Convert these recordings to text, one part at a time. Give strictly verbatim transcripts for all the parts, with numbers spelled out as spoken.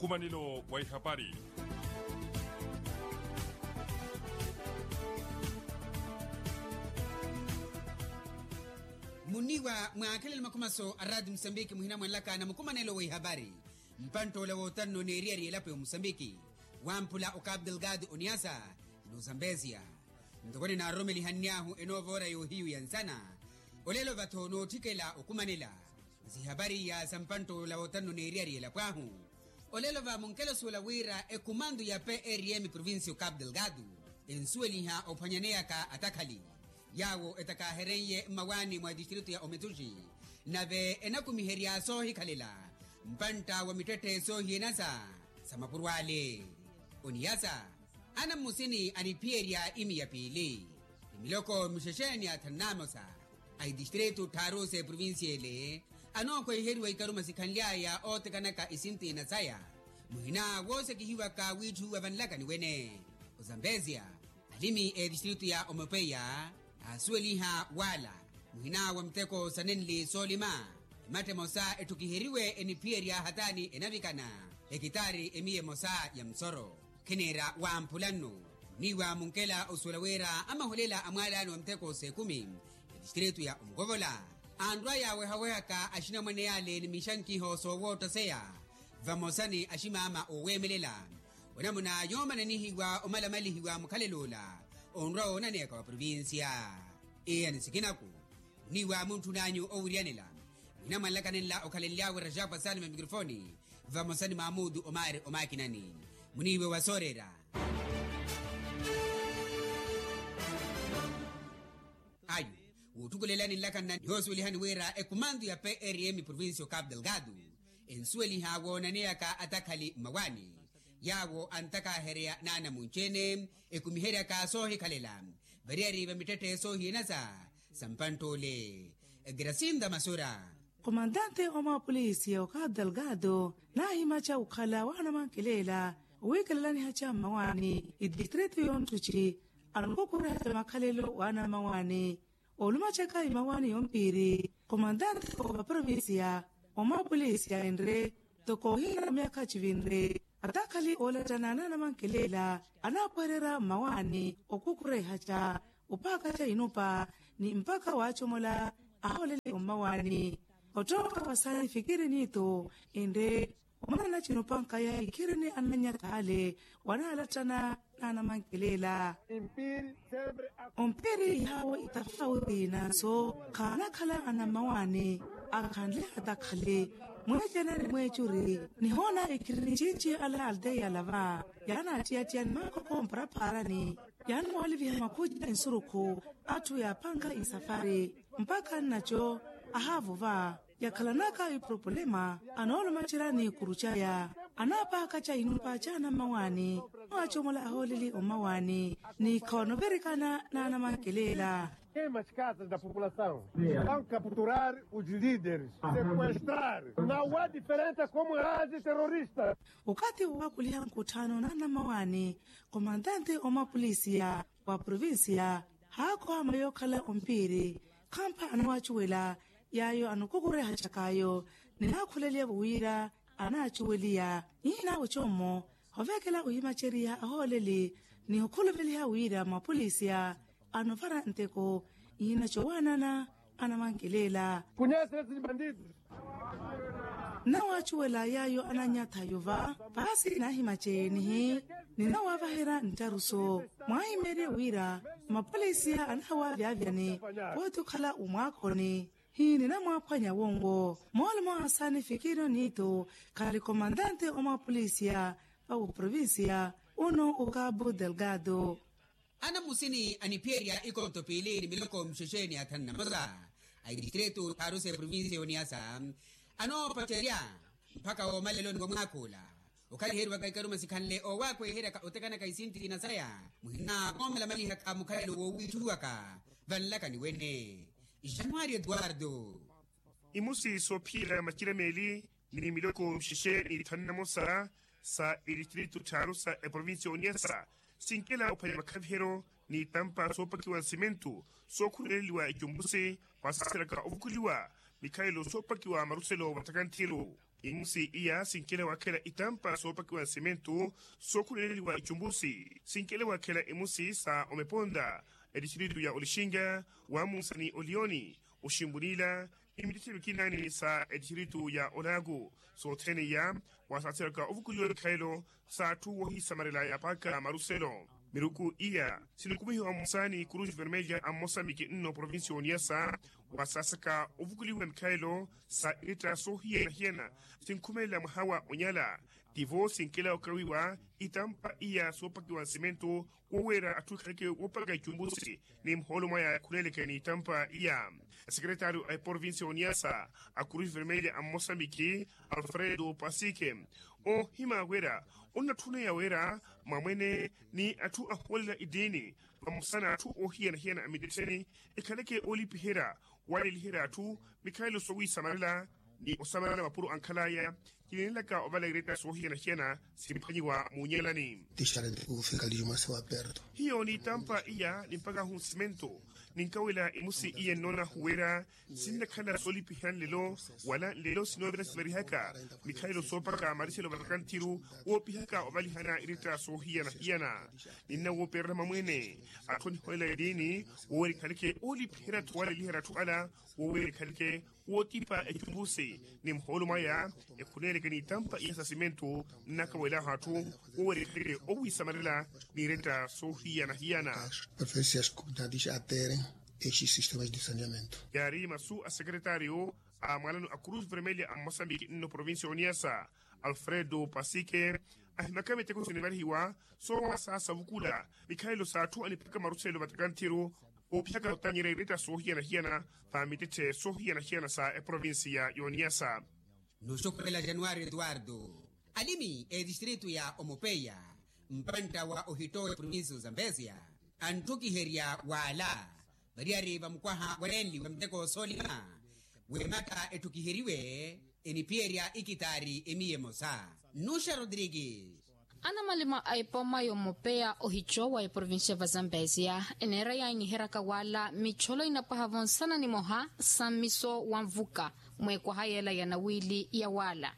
Nkumanelo wa ihapari. Muniwa mwaakhelelo makhumaso a raati musambiki muhina mwanlaka na mukumanelo wa ihapari. Mpanttoola wootanno n'eriyari elapo ya omusambiki, wamphula okapu delgado oniasa, n'ozambezia. Ntoko ninaroromelihanny'ahu enoovoora yoohiyu ya nsana, olelo vattho nootthikela okumanela. Zihapari iya sa mpanttoola wootanno n'eriyari elapo ahu, olelo va munkelo suwela wira ekumantu ya prm provincia okapu delgado ensuweliha ophwanyaneyaka atakhali yaawo etakaaherenye mmawaani mwa distritu ya ometuxi, nave enakumiherya soohikhalela mpantta wa mittetthe soohiyenasa sa mapuro ale. Oniyasa, ana mmusini aniphiyerya imi ya piili, ni miloko mixexeeni ya thanu n'amosa a itistritu tthaaru s'eprovincia ele, anookhweiheriwa ikaruma sikhanly'aya ootekanaka isintiina saya, muhina woosekihiwaka wiitthuwiwa vanlakani wene. Ozambezia, alimi etistritu ya omopeya aasuweliha wala muhina wa miteko sa nenli soolima, ematta emosa etthukiheriwe eniphiyerya hataani enavikana hekitaari emiya emosa ya musoro. Kheneera wamphula nno, muniiwa munkela osuwela wira amaholela a mwaalaani wa miteko s'ekumi etistritu ya omukovola, anrwa yaawehawehaka axinamwane yaale ni mixankiho soowoottaseya vamosa ni aximaama ooweemelela. Onamuna yoomananihiwa omalamalihiwa mukhalelo ola onrwa woonaneyaka wa provincia. Iya ni sikinaku, muniiwa muntthun'anyu owiryanela muhina mwanlakanenla okhalenly'awe rajapa salima mikrofoni vamosa ni mamutu omari omakinani. Muniiwe wa sooreera. Ayu, wutthukulelani nlakanna nihoosuwelihani wira ekumantu ya prm provincia okapu delgado ensuweliha woonaneyaka atakhali mmawaani yaawo antakaahereya n'anamunci-ene ekumiheryaka soohikhalela variyari va mittetthe soohiyenasa sa mpantt'ole. Grasinda masura. Komantante wa mapolisi ya okapu delgado naahimaca okhala waanamankelela owiikelelanihaca mmawaani itistritu y'onttuci anokukurehaca makhalelo waana mmawaani. Olumacaka imawaani yompiiri komantante wa provincia wa mapolisi ya enre toko ohina myakha civinre atakhali oolattana naanamankelela anaapuhererya mmawaani okukurehaca opaakaca inupa ni mpakha waacomola ahooleli ommawaani. Ottoka wa saani fikiri niito enre omanana cinupankaya ikhirini anannyatha ale wanaalattana naanamankelela. Ompiiri yaawo itafauti nanso khaanakhala anammawaani akhanle atakhale mweecena ni mweecuri nihoona ikhirini cinci ala alteya lava yaanaattiyattiyani maakoko mparaphaarani yaanamwaliviha makhuci ensurukhu atthu yaapanka isafari mpakha nnaco ahaavuva yakhalanaka ipropulema anoolumacerya n'ikuru caya anaapakaca inupa ca anammawaani mwaacomola ahooleli ommawaani ni khoonovirikana naanamankelela. Queima as casas da população, vão capturar os líderes, sequestrar. Não há diferença como age terrorista. Okathi woowakuliha nkutthano naanammawaani komantante omapolisiya wa provincia haakhoha mweyo okhala ompiiri khampha anawaacuwela yaayo anokukurehacak'ayo ninaakhuleliya wira anaacuweliya. Iina ocommo ovekela ohimaceriha ahooleli ni okhuluveliha wira mapolisiya anovara nteko iina cowaanana anamankelela. Nawaacuwela yaayo ananyatha yova paasi naahimaceenihi ninawaavaherya nttaruso mwaahimeerye wira mapolisiya anawaavyaavyani pooti okhala omwaakhoni hi ninamwaaphwanya wongo. Moolumo asaani fikirino niito khali komantante omapolisiya va uprovincia uno okabu delgado. Anammusini aniphiyerya ikonto piili ni miloko mixexeeni ya thanu na mosa a itistritu tthaaru s'eprovincia y'oniasa anoopacerya mpakha woomaleloni wa mwaakhuula okhaliheriwaka ikaruma sikhanle oowakweheryaka otekanaka isintiina saya muhina koomalamalihaka mukhalelo woowiitthuwaka vanlakani wene. Januari eduardo. Imusi soophiyela macira meeli ni miloko mixexe ni thanu na mosa sa itistritu tthaaru sa eprovincia y'oniasa sinkela ophwanya makhaviheryo ni itampa soopakiwa nsimentu sookhuleleliwa icumbusi mwasaseraka ovukuliwa mikhalelo soopakiwa maruselo wa ttakanthiru. Imusi iya sinkele wakhela itampa soopakiwa nsimentu sookhuleleliwa icumbusi sinkele wakhela imusi sa omeponta, etistritu ya olixinga wamunsani oliyoni, oximbunila ni mitithiru kinaani sa etistritu ya olaaku. Sothene iya wasaasiraka ovukuliwa mikhalelo sa atthu wohisamarela yapaaka maruselo. Miruku iya sinukumihiwa musaani kurusi vermelha a mosambiki nno provincia oniyasa, wasaasaka ovukuliwa mikhalelo sa iretta soohiyana-hiyana sinkhumelela mwaha wa onyala. Tivo sinkela okawiwa itampa iya soopakiwa nsimentu woweera atthu ekhaleke woopaka icumbusi ni muhoolo mwaya khuneleke ni itampa iya. Asekretaryo a eprovincia oniyasa a kurusi vermelha a mosambiki alfredo pasike ohima wira onnatthuneya wira mwamwene ni atthu ahoolela itiini vamosa na atthu oohiyana-hiyana a mitetheni ekhaleke oolipiherya waleliherya atthu mikhalelo soowisamarela ni osamarela mapuro ankhalaya. Kinenelaka ovala iretta soohiyana-hiyana simphwanyiwa muunyelani. Hiyo ni itampa iya ni mpaka ahunsimento ninkawela imusi iye nnoona huwera sinnakhala soolipiherya nlelo wala nlelo sinoovira sivarihaka mikhalelo soopaka mariselo vatakanthiru woopihaka ovalihana iretta soohiyana-hiyana. Ninna wooperela mamwene atthu aniholela etiini woowera ekhaleke oolipiherya atthu waleliherya atthu ala woowera ekhaleke wootipa ecumbusi ni muhoolo mwaya ekhuneeleke ni itampa iya sa simentu nnakawelahu atthu woowera ekhaleke owisamarela ni iretta soohiyana-hiyana. Preferencias comunidades atere esses sistemas de saneamento. Yaari masu a sekretaryo a mwalano a cruz vermelha a mosambiki nno provincia oniyasa alfredo pasike ahimaka miteko sinivarihiwa soowasaasa ovukula mikhalelo sa atthu anipaka maruselo vatakanthiru oopihaka otanyerya iretta soohiyana-hiyana va mititthe soohiyana-hiyana sa eprovincia y'oniyasa. Nuxukhurela januwari etuwartu alimi etistritu ya omopeya mpantta wa ohitto wa eprovincia ozambesia anttukiherya waala variyari vamukwaha wanenliwa miteko soolima wematta etthukiheriwe eniphiyerya ikitaari emiya emosa. Nuxa rodrigues. Anamalima a epooma yomopeya ohico wa eprovincia va zambesia eneera yaanyiheryaka waala mitcholo inapwaha vonsana nimoha sa mmiso wa nvuka mweekwaha yeela ya nawiili ya waala.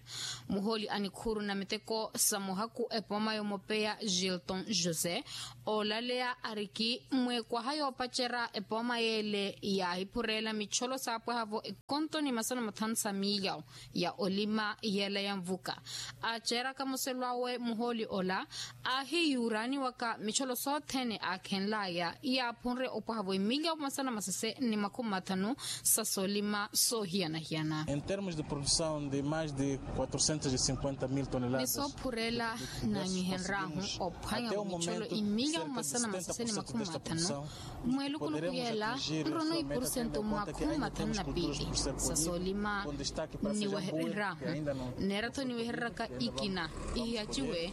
Muhooli a nikhuuru na miteko sa muhaku epooma yomopeya gilton josé oolaleya ariki mweekwaha yoopacerya epooma yeele yaahiphureela mitcholo saapwaha-vo ekonto ni masana mathanu sa miiyawu ya olima yeela ya nvuka. Aaceeraka muselo awe muhooli ola aahiyuuraaniwaka mitcholo sothene aakhenlaya yaaphunre opwaha-vo emiliya masana masese ni makhumi mathanu sa soolima soohiyana-hiyana. Em termos de produção de mais de quatrocentos e cinquenta mil toneladas ni soophurela naanyihenryahu ophwanya-vo mitcholo emiliya masana masese ni makhumi mathanu. Mweelukuluku yeela nrono ipursento mwa khumi mathanu na piili sa soolima niwehereryahu. Neera-tho niwehereryaka ikina ihiyaciwe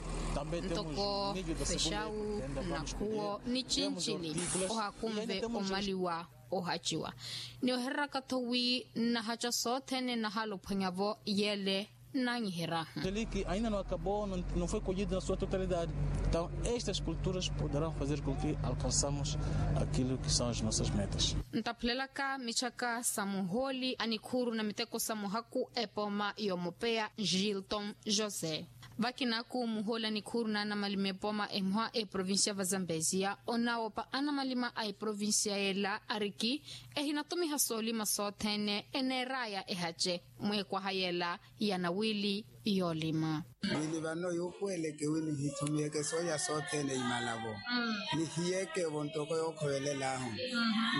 ntoko fexawu nakhuwo ni cincili ohakunve omaliwa ohaciwa. Niwehereryaka-tho wi nnahaca sothene nahaala ophwanya-vo yeele nanyiheryahu. Teliki ainda no acabou no foi colhido na sua totalidade. Então estas culturas poderão fazer com que alcançamos aquilo que são as nossas metas. Ntaphulelaka mitthaka sa muhooli a nikhuuru na miteko sa muhaku epooma yomopeya gilton josé. Vakinaku muhooli a nikhuuru na anamalima epooma emoha eprovincia va zambesia onawoopa anamalima a eprovincia yeela ariki ehinatumiha soolima sothene eneeraya ehace mweekwaha yeela ya nawiili yoolima. Wili vano yuupuweleke wi nihitumiheke sooya sothene imala-vo nihiyeke-vo ntoko yookhovelel'ahu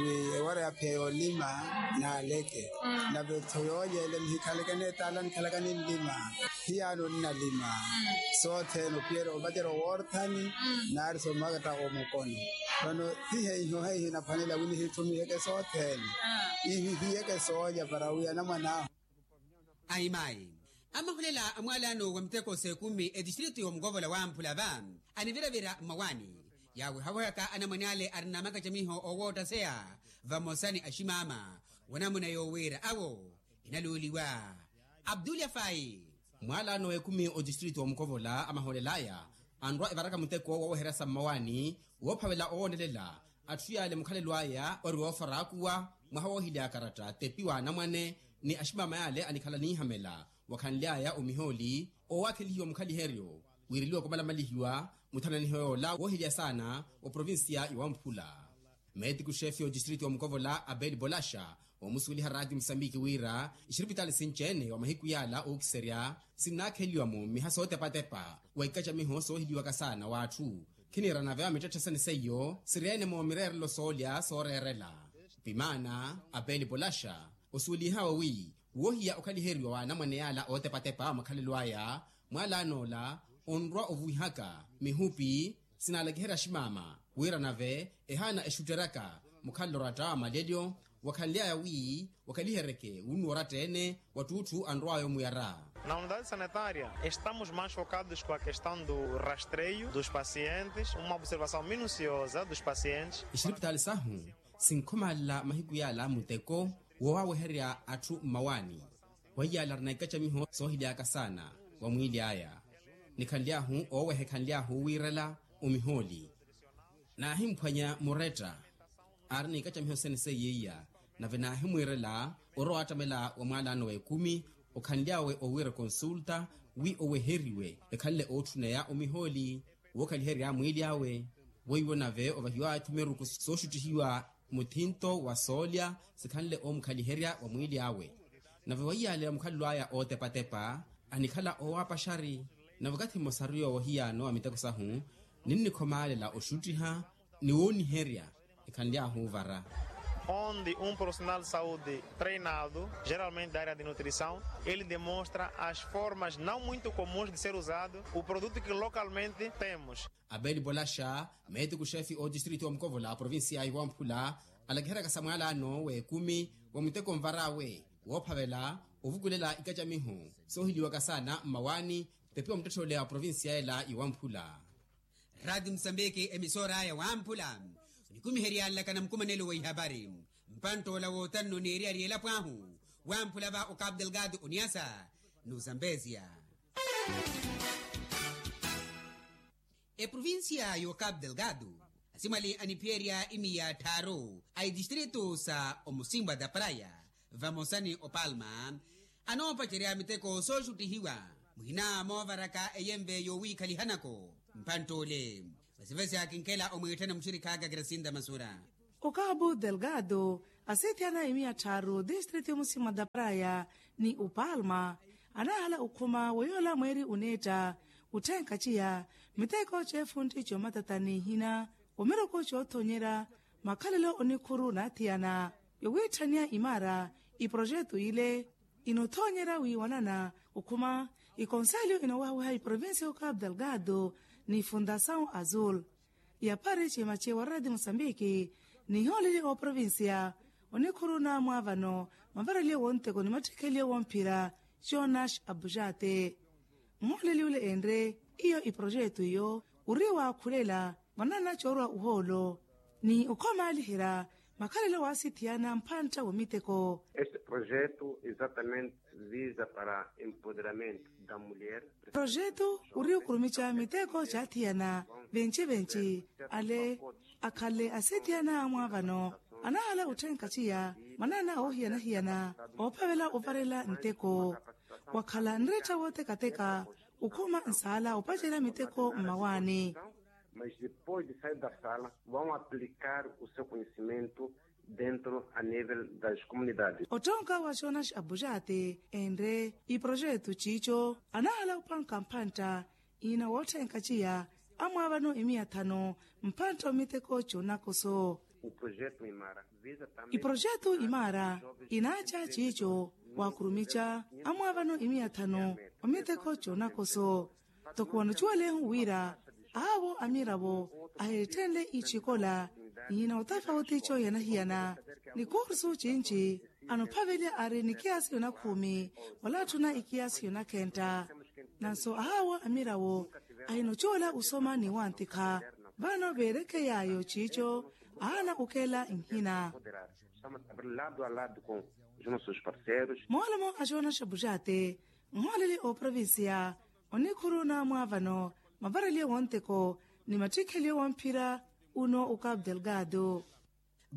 wi ewara yaphiya yoolima naaleke nave-tho yooyeele nihikhaleke neetaala nikhalaka ninlima. Hiyaano nnalima sothene ophiyerya opacerya owoorthani naari soomakatta omukono. Vano hihe ihohe ihinaphwanela wi nihitumiheke sothene ihihiyeke sooya para wi anamwan'ahu. Aimayi amahulela a mwaalano wa miteko s'ekumi etistritu y'omukovola wa mphulava anivira-vira mmawaani yaaweha-wehaka anamwane ale arina makacamiho oowoottaseya vamosa ni aximaama wa namuna yoowiira awo. Inaluuliwa abdulyafayi. Mwaalano w'ekumi otistritu w'omukovola amahoolel'aya anrwa evaraka muteko wooweherya sa mmawaani woophavela owoonelela atthu yaale mukhalelo aya ori woofaraakuwa mwaha woohilya akaratta tepi w'anamwane ni aximama yaale anikhala niihamela wakhanly'aya omihooli owakhelihiwa mukhaliheryo wiireliwa kumalamalihiwa muthananiho yoola woohilya saana wa provincia ya wamphula. Meetiku xeefi otistritu wa mukovola abeli bolaxa oomusuweliha raati musambiki wira ixiripitaali sinci-ene wa mahiku yaala ookiserya sinnaakheliwa-mo mmiha sootepa-tepa wa ikacamiho soohiliwaka saana w'atthu. Khiniira nave wa mittetthe sene seiyo siri-ene-mo mireerelo soolya sooreerela. Pimaana abeli bolaxa osuwelihawe wi woohiya okhaliheriwa w'anamwane yaala ootepa-tepa wa makhalelo aya mwaalaan'ola onrwa ovuwihaka mihupi sinaalakiherya aximaama wira nave ehaana exutteryaka mukhalelo oratta wa malelyo wakhanly'aya wi wakhaliheryeke wunnu oratta-ene wattuutthu anrw'aya omuyara. Na unidade sanitária estamos mais focados com a questão do rastreio dos pacientes uma observação minuciosa dos pacientes. Ixiripitaali sahu sinkhomalela mahiku yaala muteko woowaweherya atthu mmawaani. Weiyaala arina ikacamiho soohilyaka saana wa mwiili aya nikhanly'ahu ooweha ekhanly'ahu wiirela omihooli naahimphwanya muretta aari n'ikacamiho sene seiya iya nave naahimwiirela orowa wattamela wa mwaalaano w'ekumi okhanly'awe owiira konsulta wi oweheriwe ekhanle ootthuneya omihooli wookhaliherya mwiili awe weiwo nave ovahiw'awe-tho miruku sooxuttihiwa muthinto wa soolya sikhanle oomukhaliherya wa mwiili awe. Nave weiyaaleya mukhalelo aya ootepa-tepa anikhala oowapaxari nave okathi mmosaru yoowo hiyaano a miteko sahu ninnikhomaalela oxuttiha ni wooniherya ekhanly'ahu ovara. Onde um profissional de saúde treinado geralmente da área de nutrição ele demonstra as formas não muito comuns de ser usado o produto que localmente temos. Abeli bolaxa meetiku xeefi otistritu wa mukovola a provincia ya wamphula alakiheryaka sa mwaalaano w'ekumi wa muteko nvar'awe woophavela ovukulela ikacamiho soohiliwaka saana mmawaani tepiwa muttetthe ole wa provincia ela ya wamphula. Raati musambiki emisoor'aya wamphula onikumihery'anlaka na mukumanelo wa ihapari mpantt'ola wootanno n'eriyari y'elapo ahu wamphula va okapu delgado oniasa n'usambezia. Eprovincia y'okapu delgado asimwali aniphiyerya imiya tthaaru a itistritu sa omusimba da praya vamosa ni opalma anoopacerya miteko sooxuttihiwa muhina moovaraka eyenve yoowiikhalihanako. Mphantt'ule vasivasi akinkhela omwiitthana muxirikh'aka kirasinta masura. Okapu delgado asithiyana imiya tthaaru distritu yomusimba da praya ni opalma anaahala okhuma wa yoola mweeri oneetta otthenkaciya miteko c'efuntti c'omatatani ihina omiruku c'othonyerya makhalelo onikhuru naathiyana yowiitthaniya imaara iprojetu ile inothoonyerya wiiwanana okhuma ikonselyo inoowahawiha iprovincia y'okapu delgado ni fundasaw azul. Yapari cimaci wa radi mosambiki ni ihooleli ooprovincia onikhuru naamwaavano mavaraliyo wonteko ni mattikheliyo womphira jonas abujate. Nhooleli ole enre iyo iprojetu iyo ori waakhulela mwanana coorwa uhoolo ni okhomaaliherya makhalelo waasithiyana mphantta womiteko. Este projeto exatamente visa para empoderamento da mulher. Projeto ori okurumica miteko caathiyana venci-venci ale akhale asithiyana amwaavano anahala otthenkaciya mwanana oohiyana-hiyana oophavela ovarela nteko wakhala nreetta wootekateka okhuma nsaala opacerya miteko mmawaani. Mas depois de sair da sala vão aplicar o seu conhecimento dentro a nível das comunidades. Ottonka wa jonas abujate enre iprojetu ciico anahala opanka mphantta ina wootthenkaciya amwaavano imiya thanu mphantta omiteko c'onakoso. Iprojetu imaara inaaca ciico waakurumica amwaavano imiya thanu omiteko c'onakoso. Toko wanocuwalehu wira ahawo amiravo ahitthenle icikola ihina otafauti coohiyana-hiyana ni kursu cinci anophavelya ari ni kiasi yonakhumi wala atthuna ikiasi yonakhentta. Nanso ahawo amiravo ahinocuwala osoma ni wantikha vano veerekey'ayo ciico ahaana okeela nhina. Moolomo a jonas abujate nhooleli ooprovincia onikhuru naamwaavano mavaraliyo wonteko ni mattikheliyo womphira uno okapu delgado.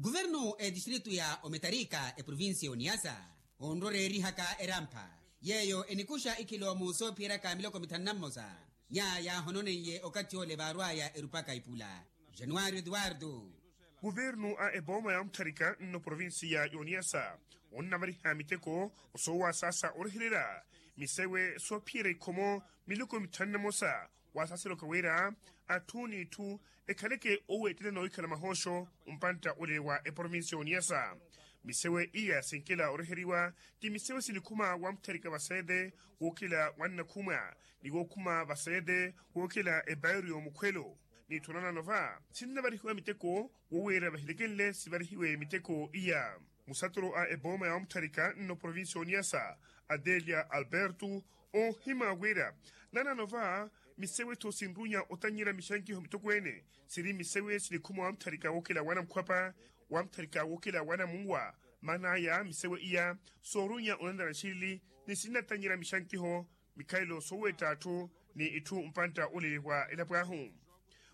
Kuvernu a etistritu ya ometarika eprovincia ya oniasa onroreerihaka erampha Yeeyo enikuxa ikiloomu soophiyeraka miloko mithanu na mmosa. Nyaya yaahononeiye okathi ole vaarwaya erupaka ipula. Januwari eduwardu. Kuvernu a epooma ya omutharika nno provinsiya y'oniyasa onnavariha miteko osoowasaasa orehererya misewe soophiyerya ikhomo miloko mithanu na mmosa. Wasaseroka wira atthu n'itthu ekhaleke oweettela n'owikhala mahooxo mpantta ole wa eprovinsi y'oniyasa. Misewe iya sinkela oreheriwa ti misewe sinikhuma wamutharika vaseete wookela wannakhumwa ni wookhuma vaseete wookela ebairiyo mukhwelo. N'itthu nanano va sinnavarihiwa miteko woweera vahilekenle sivarihiwe miteko iya. Musatoro a epooma ya wamutharika nno provinsi y'oniyasa adelia alberto oohima wira nanano va misewe-tho sinrunya otannyerya mixankiho mitokweene siri misewe sinikhuma wamutharika wookela wanamukhwapa wamutharika wookela wanamunwa. Maan'aya misewe iya soorunya onanara nxilili ni sinnatannyerya mixankiho mikhalelo sooweetta atthu ni itthu mpantta ole wa elapo ahu.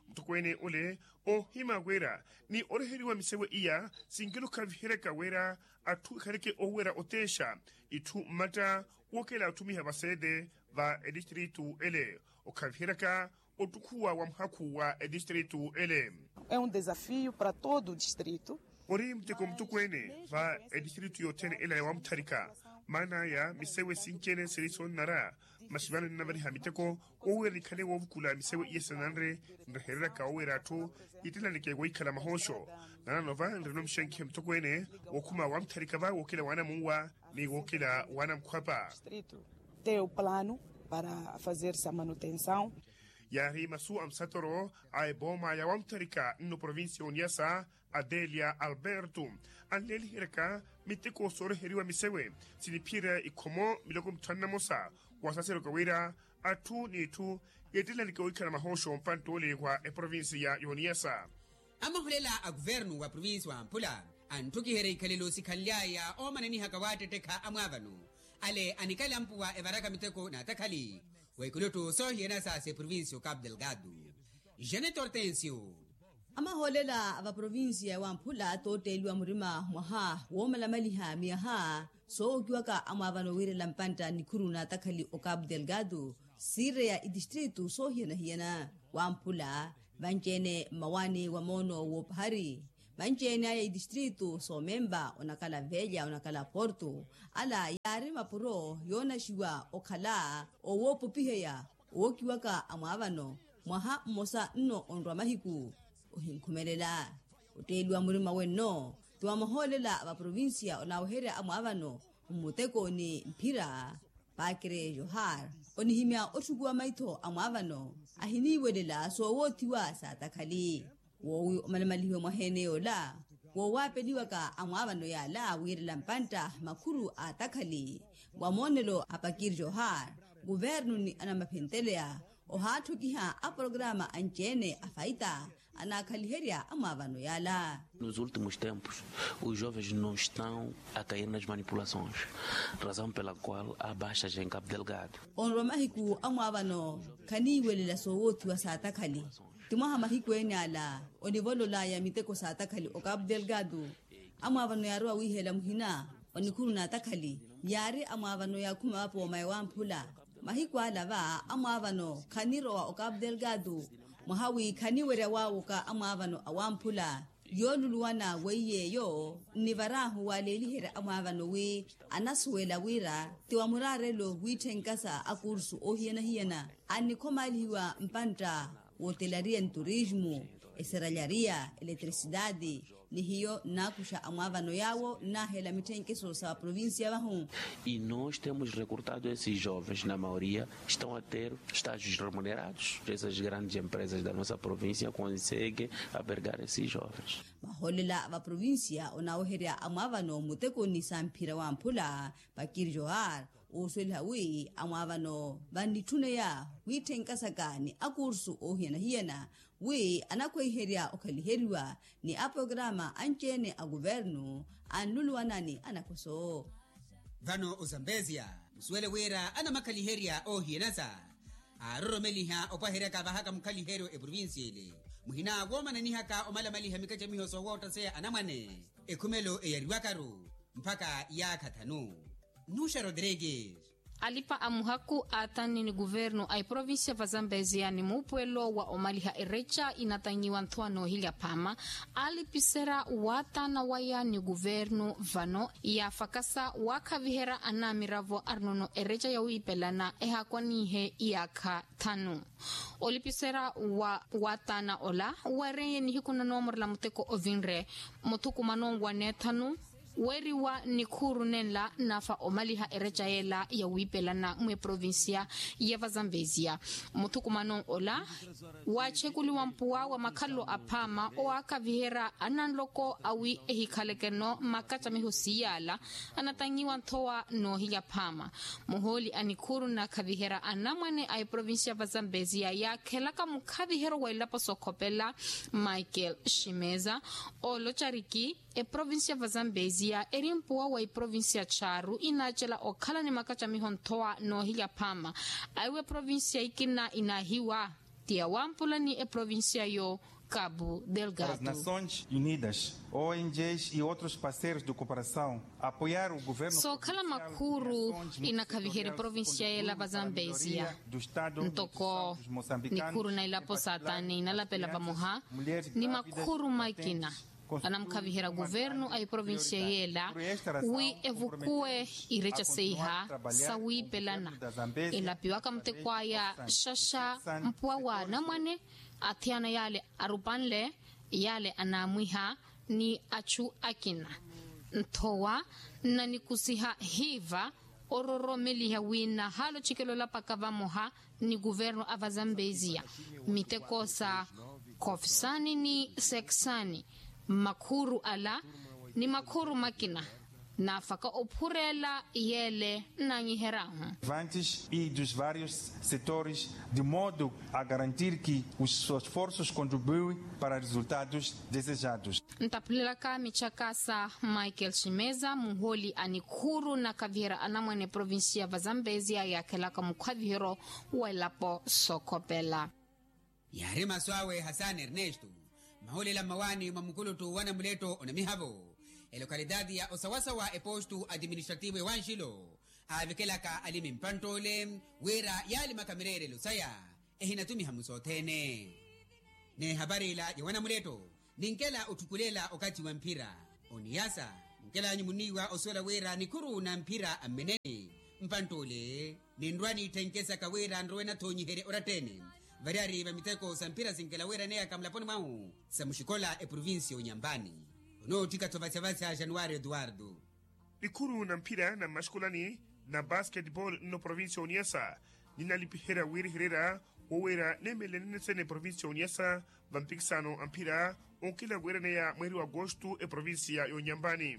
Mutokweene ole oohima wira ni oreheriwa misewe iya sinkela okhaviheryaka wira atthu ekhaleke oweera oteexa itthu mmatta wookela otthumiha vaseete va etistritu ele okhaviheryaka ottukhuwa wa muhakhu wa etistritu ele. É um desafio para todo o distrito. Ori muteko mutokweene va etistritu yothene ela ya wamutharika. Maan'aya misewe sinci-ene siri soonnara masi vano nnavariha miteko woowira nikhale woovukula misewe iya sinanre nrehereryaka woowira atthu yittelaneke wohikhala mahooxo. Nanano va nrino mixankiho mutokweene wookhuma wamutharika va wookela wanamunwa ni wookela wanamukhwapa. Tem o plano para fazer essa manutenção. Yaari masu a musatoro a epooma ya wamutharika nno provinsi y'oniyasa adelia alberto anleeliheryaka miteko sooreheriwa misewe siniphiyerya ikhomo miloko mithanu na mmosa. Wasaseroka wira atthu n'itthu yeettelaneke owikhala mahooxo mpantta ole wa eprovinsi ya y'oniyasa. Amaholela a kuvernu wa provinsi wamphula anttukiherya ikhalelo sikhanly'aya oomananihaka waattettekha amwaavano ale anikalampuwa evaraka miteko n'atakhali wa ikuluttu soohiyana sa s'eprovinsi y'okapu delgado. Janet hortensio. Amahoolela a vaprovinsiya wamphula tootteeliwa murima mwaha woomalamaliha miyaha soowokiwaka amwaavano wiirela mpantta nikhuru n'atakhali okapu delgado siireya itistritu soohiyana-hiyana wamphula vanci-ene mmawaani wa moono w'opahari vanci-ene aya itistritu soomempa onakhala velha onakhala porto ala yaari mapuro yoonaxiwa okhala owoopopiheya owokiwaka amwaavano mwaha mmosa nno onrwa mahiku ohinkhumelela. Otteeliwa murima wenno ti wa mahoolela a vaprovinsiya onaaweherya amwaavano mmuteko ni mphira pakre johar onihimya otthukuwa maitho amwaavano ahiniiwelela soowoothiwa saatakhali woowi omalamalihiwe mwaheene yoola woowaapeliwaka amwaavano yaala wiirela mpantta makhuru a atakhali wa moonelo a pakiri johar kuvernu ni anamaphenteleya ohaattokiha aporokaramu anci-ene a faita anaakhaliherya amwaavano yaala. Nos últimos tempos os jovens não estão a cair nas manipulações, razão pela qual há baixas em cabo delgado. Onrwa mahiku amwaavano khaniiwelela soowoothiwa saatakhali ti mwaha mahiku ene ala onivololaya miteko saatakhali okapu delgado. Amwaavano yaarowa wiihela muhina onikhuru n'atakhali yaari amwaavano yaakhuma vapooma ewamphula mahiku ala va amwaavano khanirowa okapu delgado mwaha wi khaniwerya waawoka amwaavano awamphula. Yooluluwana weiy'eyo nnivaraahu waleeliherya amwaavano wi anasuwela wira ti wa muraarelo wiitthenka sa akursu oohiyana-hiyana annikhomaalihiwa mpantta wootelariya ni turismu eseralariya eletrisidadi ni hiyo nnaakuxa amwaavano yaawo nnaahela mitthenkeso sa vaprovinsiya vahu. E nós temos recrutado esses jovens na maioria estão a ter estágios remunerados dessas grandes empresas da nossa província conseguem abrigar esses jovens. Mahoolela a vaprovinsiya onaaweherya amwaavano muteko ni samphira wamphula pakiri johar oosuweliha wi amwaavano vannitthuneya wiitthenka saka ni akursu oohiyana-hiyana wi anakhweiherya okhaliheriwa ni aporokaramu anci-ene a kuvernu anluluwana ni anakhoso. Vano ozambeziya musuwele wira anamakhaliherya oohiyana sa aaroromeliha opwaheryaka vahaka mukhaliheryo eprovinsiya ile muhina woomananihaka omalamaliha mikacamiho soowootteseya anamwane ekhumelo eyariwakaru mpakha yaakha thanu. Nuxa rodrigues. Alipa a muhaku aatani ni kuvernu a eprovincia vazambeziya ni muupuwelo wa omaliha ereca inatanyiwa nthowa noohilya phaama, alipiserya waatana waya ni kuvernu vano yaafakasa waakhaviherya anamiravo arinono ereca yawiipelana ehaakwaninhe iyaakha thanu. Olipiserya wa waatana ola weereye nihiku na noomorela muteko ovinre muthukumano wa neethanu, weeriwa nikhuuru nenla naafa omaliha ereca yeela yawiipelana mweprovincia ya vazambeziya. Muthukumano ola waatxekuliwa mpuwa wa makhalelo aphaama owaakaviherya ananloko awi ehikhaleke-no makacamiho siiyaala anatanyiwa nthowa noohilya phaama. Muhooli a nikhuuru nakhaviherya anamwane a eprovincia vazambeziya yaakhelaka mukhaviheryo wa elapo sookhopela michael shimeza oolocariki eprovincia vazambeziya eri mpuwa wa eprovincia charu inaacela okhala ni makacamiho nthowa noohilya phaama. Aiwe eprovincia ikina inaahiwa ti yawampula ni eprovincia yo cabo delgado. Nasons unidas, ongs e outros parceiros de cooperação apoiar o governo sookhala makhuuru inakhaviherya eprovincia yeela vazambeziya ntoko nikhuuru na ilapo saatani inalapela vamoha ni makhuuru makina anamukhaviherya kuvernu a eprovincia yeela wi evukuwe ireca seiha sawiipelana. Elapiwaka muteko aya xaxa mpuwa wa anamwane athiyana yaale arupanle yaale anaamwiha ni achu akina nthowa nnanikusiha hiiva ororomeliha wi nahaala ocikela olapaka vamoha ni kuvernu a vazambeziya miteko sa khofisani ni sekisani mmakhuuru ala ni makhuuru makina naafaka ophureela yeele nnanyiheryahu vantes e dos vários setores de modo a garantir que os esforços contribuem para resultados desejados. Ntaphulelaka mitxaka sa michael shimeza muhooli a nikhuuru nakhaviherya anamwane provincia vazambeziya yaakhelaka mukhaviheryo wa elapo sookhopela. Yaari masu awe hasani ernesto mahulela mmawaani mwa mukuluttu wa namuletto onamihavo elokhalitaati ya osawasawa epostu atiministrativo ewanxilo aavikelaka alimi mpantt'ole wira yaalimaka mireerelo saya ehinatumiha musothene. N'ehapari ila ya wanamuletto ninkela otthukulela okathi wa mphira oniyasa. Nkelanyu muniiwa osuwela wira nikhuru na mphira ammeneni mpantt'ole ninrwa niitthenke saka wira nrowe nathonyiherye orattene variyari va miteko sa mphira sinkela wira eneyaka mulaponi mwahu sa muxikola eprovincia onyambani. Onootthika-tho vasya-vasya januwari eduwardo. Nikhuru na mphira na mmaxikolani na basketball nno provincia oniyasa ninalipiherya wiirihererya woweera neemelele nene sene provincia oniyasa va mpikisano a mphira onkela weeraneya mweeri wa agosto eprovincia y'onyambani.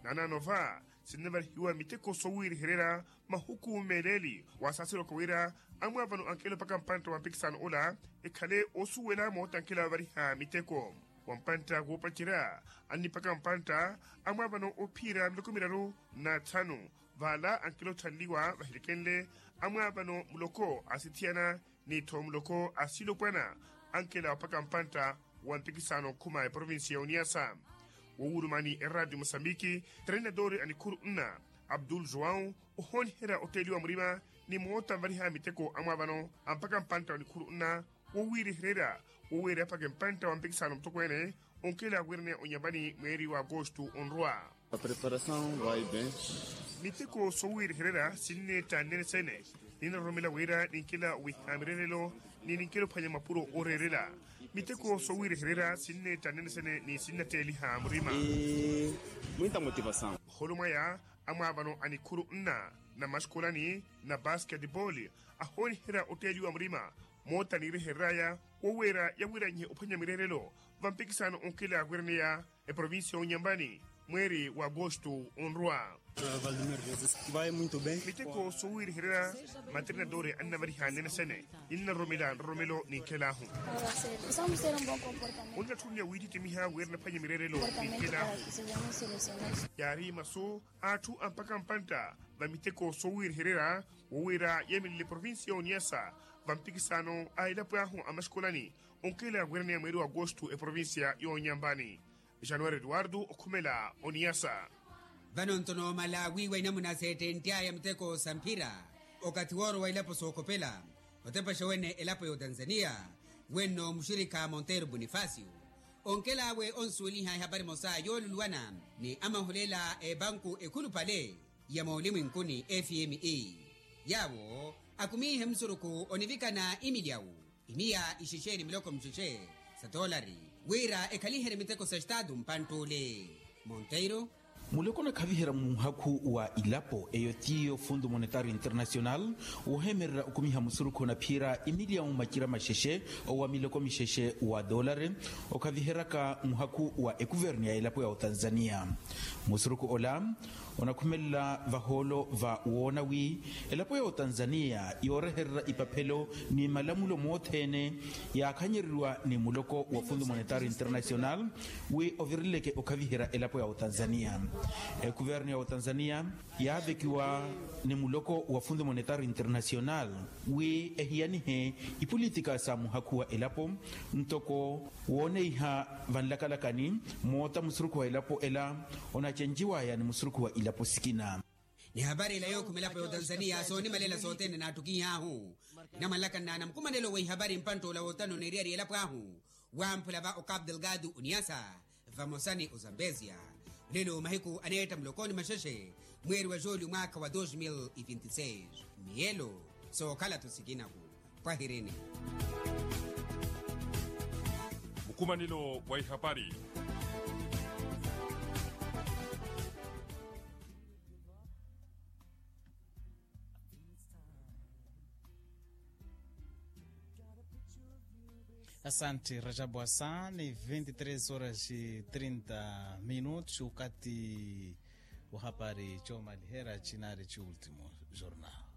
Naanaano va sinnavarihiwa miteko sowiirihererya mahuku meeleeli waasaaseryoka wira amwaavano ankelo mpakha mpantta wa mpikisano ola ekhale osuwela moota ankelo avariha miteko wa mpantta woopacerya anni mpakha mpantta amwaavano ophiira miloko miraru na tthanu. Vaala ankelo otthanliwa vahilikenle amwaavano muloko asithiyana ni tho muloko asilopwana ankela wa mpakha mpantta wa mpikisano okhuma eprovincia ya oniyasa. Wowulumani eradio mosambiki treinadori a nikhuru nna abdul joão ohooniherya otteeliwa murima ni moota nvariha miteko amwaavano a mpakha mpantta wa nikhuru nna wowiirihererya woweera mpakha mpantta wa mpikisano mutokweene onkela wiiraneya onyambani mweeri wa agosto onrwa. Miteko sowiirihererya sinneetta nnene sene ninaroromela wira ninkela wiiha mireerelo ni ninkela ophwanya mapuro ooreerela. Miteko sowiirihererya sinneetta nnene sene ni sinnatteeliha murima. Muholo mwaya amwaavano a nikhuru nna na mmaxikolani na basketball ahooniherya otteeliwa murima moota niirihereryaya woweera yawiranyihe ophwanya mireerelo va mpikisano onkela wiiraneya eprovincia y'onyambani mweeri wa agosto onrwa. Miteko sowiirihererya matrinadori annavariha nnene sene ninnaroromela nroromelo ninkelaahu. Onnatthunya wiittittimiha wira naphwanye mireerelo ninkelaahu. Yaari masu a atthu a mpakha mpantta va miteko sowiirihererya wowiira yeemelele provincia y'oniyasa va mpikisano a elapo ahu a mmaxikolani onkela wiiraneya mweeri wa agosto eprovincia y'onyambani. Januwari eduwardo okhumela oniyasa. Vano nto noomala wiiwa inamuna seettentt'aya miteko sa mphira, okathi woorowa ilapo sookhopela otepexa wene elapo ya otanzaniya, wenno muxirikha monteiro bonifasio onkel'awe onsuweliha ehapari emosa yooluluwana ni amaholela a epanku ekhulupale ya moolimwinkuni fme. Yaawo akumiihe musurukhu onivikana imilyawu imiya ixexe ni miloko muxexe sa toolari wira ekhaliherye miteko sa estatu mpantt'ule. Monteiro. Muloko onakhavihera muhakhu wa ilapo eyo tiyo fundo monetario internacional, wohemerera okumiha musurukhu onaphiyera imilyawu macira maxexe owa miloko mixexe wa doolari, okhaviheraka muhakhu wa ekuvernu ya elapo ya otanzaniya. Musurukhu ola onakhumelela vahoolo va woona wi elapo ya otanzaniya yoorehererya ipaphelo ni malamulo mothene yaakhanyereriwa ni muloko wa fundo monetario internacional, wi ovirileke okhaviherya elapo ya otanzaniya. Ekuvernu ya otanzaniya yaavekiwa ni muloko wa fundo monetario internacional wi ehiyanihe ipolitika sa muhakhu wa elapo, ntoko wooneiha vanlakalakani moota musurukhu wa elapo ela onacenciwaya ni musurukhu wa ilapo sikina. Ni hapari ila yookhuma elapo ya otanzaniya soonimalela sothene naattukihahu. Inamwanlakana na mukumanelo wa ihapari mpantt'ula wootano neeriyari elapo ahu wamphula va ocapo delgado oniasa vamosa ni ozambezia. Olelo mahiku aneetta mulokoni maxexe mweeri wa julio mwaakha wa dos mil e vinti seis. Miyelo sookhala-tho sikinaku. Pwahirini. Mukumanelo wa ihapari. Asanti rajabu asa ni vinti tres horas e trinta minutos okati wa hapari coomalihera cinari ci ultimo jornal.